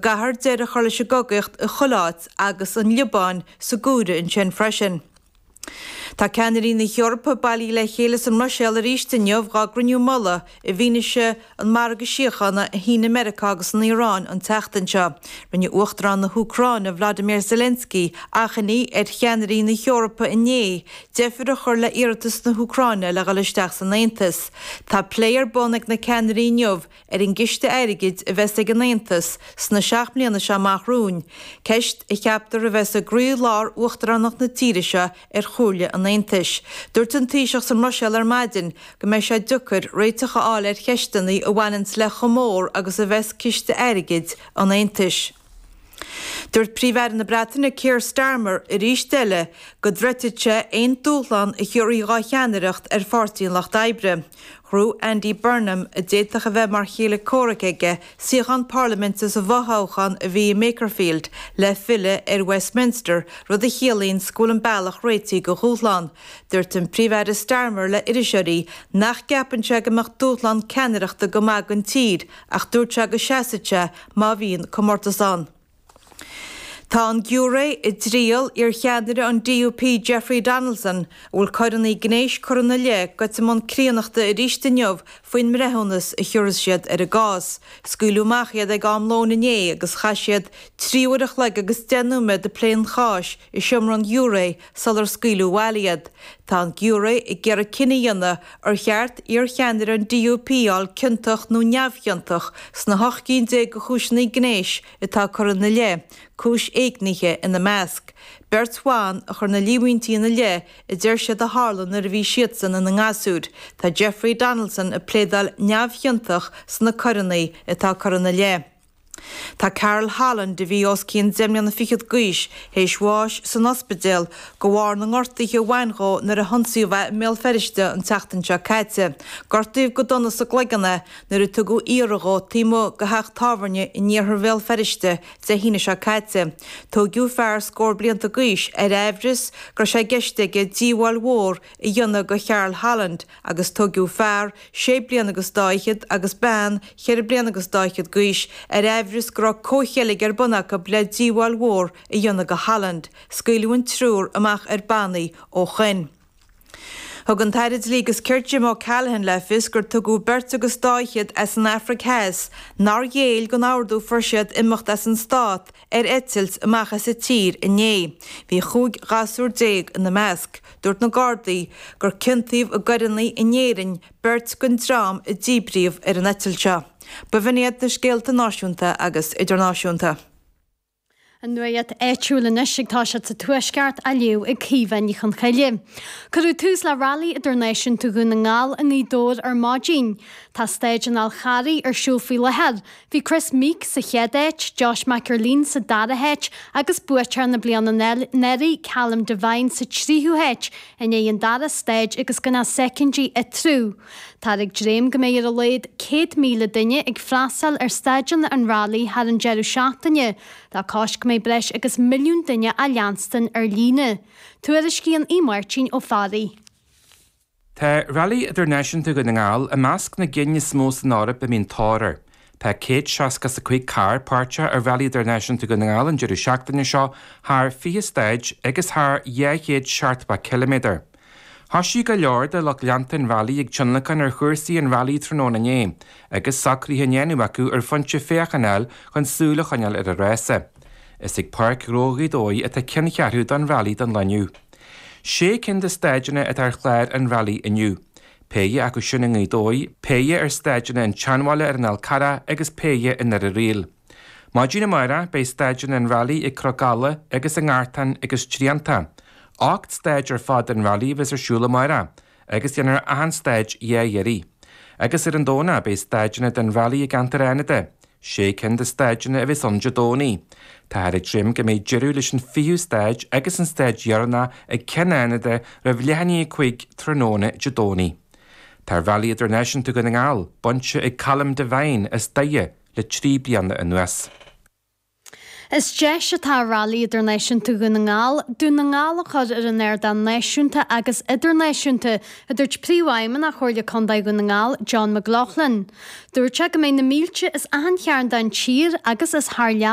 Gcaithfear deireadh a chur leis an gcogaíocht i chuile áit agus an Liobáin sa gcomhaireamh ansin freisin. Tá ceannairí na hEorpa bailithe le chéile sa mBruiséil arís inniu dhá gcruinniú mullaigh i bhfianaise an margadh síochána a shínigh Meiriceá agus an Iaráin an tseachtain seo. Rinne Uachtarán na hÚcráine Vladimir Zelensky achainí ar cheannairí na hEorpa inné deifir a chur le iarratas na hÚcráine le dhul isteach san Aontas. Tá plé ar bun ag na ceannairí inniu ar an gciste airgid a bheas ag an Aontas sna 7 mbliana seo amach romhainn, ceist a cheaptar a bheas i gcroí-lár uachtaránacht na tíre seo ar Chomhairle an Aontais. Dúirt an Taoiseach sa mBruiséil ar maidin go mbeidh sé deacair réiteach a fháil ar cheisteanna a bhaineanns le chomh mór agus a bheas ciste airgid an Aontais. Dúirt Príomh-Aire na Breataine Keir Starmer arís eile go dtroidfidh sé aon dúshlán a thiúrfaí dhá cheannaireacht ar Pháirtí an Lucht Oibre. Ghnóthaigh Andy Burnham, a d'fhéadfadh a bheith mar chéile comhraic aige, suíochán parlaiminte sa bhfothoghchán a bhí i mBakerfield le filleadh ar Westminster, rud a chiallaíonns go bhfuil an bealach réitithe do dhúshlán. Dúirt an Príomh-Aire Starmer le iriseoirí nach gceapann sé go mbeadh dúshlán ceannaireachta go maith don tír ach dúirt sé go seasfadh sé má bhíonn comórtas ann. Tá an giúiré i dtriail iarcheannaire an DUP Jeffrey Donaldson, a bhfuil coireanna gnéis curtha ina leith, goite i mbun críonnachta arís inniu faoin mbreithiúnas a thiúrfas siad ar an gcás. Scaoileadh amach iad ag am lóin inné agus chaith siad 3 uair a chloig agus 10 nóiméad ag plé an cháis i seomra an ghiúiré sular scaoileadh abhaile iad. Tá an giúiré ag iarraidh cinneadh a dhéanamh Ar cheart iarcheannaire an DUP a fháil ciontach nó neamhchiontach sna 18 cinn de chúiseanna gnéis atá curtha ina leith, cúis éignithe ina measc? Beirt bhan a chuir na líomhaintí ina leith a deir siad a tharla nuair a bhí siadsan ina ngasúir. Tá Jeffrey Donaldson ag pléadáil neamhchiontach sna coireanna atá curtha ina leith. Tá Carol Holland, a bhí os cionn deich mbliana fichead d'aois, théis bháis san ospidéal de bharr na ngortuithe a bhain dhó nuair a hionsaíodh é i mBéal Feirste an tseachtain seo caite. Gortaíodh go dona sa gcloigeann é nuair a tugadh iarraidh dhó taobh amuigh de theach tábhairne in iarthar Bhéal Feirste Dé hAoine seo caite. Tóigeadh fear scór blianta d'aois ar aimhreas go raibh sé i gceist aige díobháil mhór a dhéanamh do Charol Holland agus tóigeadh fear sé bliana agus dá fhichead agus bean cheithre bliana agus dá fhichead d'aois ar aimhreas go raibh comhcheilg ar bun acu le díobháil mhór a dhéanamh do Holland. Scaoileadh an triúr amach ar bannaí ó shoin. Thug an tAire Dlí agus Cirt Jim O'Callaghan le fios gur tugadh beirt agus dá fhichead as an Afraic Theas nár ghéill don ordú fuair siad imeacht as an stát ar eitilt amach as an tír inné. Bhí 15 ghasúr ina measc. Dúirt na Gardaí gur ciontaíodh i gcoireanna in Éirinn beirt den dream a díbríodh ar an eitilt seo. B'in iad na scéalta náisiúnta agus idirnáisiúnta. An nuacht áitiúil anois ag toiseacht sa Tuaisceart á léamh ag Caoimhe Ní Chonchoille. Cuireadh tús le Railí Idirnáisiúnta Dhún na nGall i nGaoth Dobhair ar maidin. Tá Stáid an Fhál Charraigh ar siúl faoi láthair. Bhí Kris Meeke sa chéad áit, Josh McErlean sa dara háit agus buaiteoir na bliana anuraidh, Callum Devine sa tríú háit i ndiaidh an dara stáid agus gan ach soicindí eatarthu. Táthar ag dréim go mbeidh ar a laghad 100,000 duine ag freastal ar stáideanna an Railí thar an deireadh seachtaine, le cois go mbeidh breis agus milliún duine á leanstan ar líne. Tuairiscíonn Aodh Máirtín Ó Fearraigh. Tá Railí Idirnáisiúnta Dhún na nGall i measc na gcinn is mó san Eoraip a mbíonn tóir air. Tá 165 carr páirteach i Railí Idirnáisiúnta Dhún na nGall an deireadh seachtaine seo thar 20 stáid agus thar 270 ciliméadar. Thoisigh go leor de lucht leanta an railí ag tionlacan ar chúrsaí an railí tráthnóna inné agus socruithe á ndéanamh acu ar phointe féachana a fháil chun súil a choinneáil ar an rása. Is ag Páirc Ghnó Ghaoth Dobhair atá ceanncheathrú don railí don lá inniu. Sé cinn de stáideanna atá ar chlár an railí inniu. Péire acu sin i nGaoth Dobhair, péire ar stáideanna an tSeanbhaile ar an Fhál Carrach agus péire i nDoire Riail. Maidin amárach beidh stáideanna an railí ag Cnoc Alla agus i nGartán agus Trianta. 8 stáid ar fad den railí a bheas ar siúl amárach agus déanfar achan stáid dhá iarraidh. Agus ar an Domhnach beidh stáideanna den railí i gceantar Fhánada. Sé cinn de stáideanna a bheas ann Dé Domhnaigh. Táthar ag dréim go mbeidh deireadh leis an fichiú stáid agus an stáid dheireanach ag Ceann Fhánada roimh leath i ndiaidh 5 tráthnóna Dé Domhnaigh. Tá Railí Idirnáisiúnta Dhún na nGall bainte ag Colm Devine as Doire le 3 bliana anuas. Is deis atá i Railí Idirnáisiúnta Dhún na nGall, Dún na nGall a chur ar an ardán náisiúnta agus idirnáisiúnta, a dúirt Príomhfheidhmeannach Chomhairle Contae Dhún na nGall, John McLaughlin. Dúirt sé go mbeidh na mílte as achan chearn den tír agus as thar lear.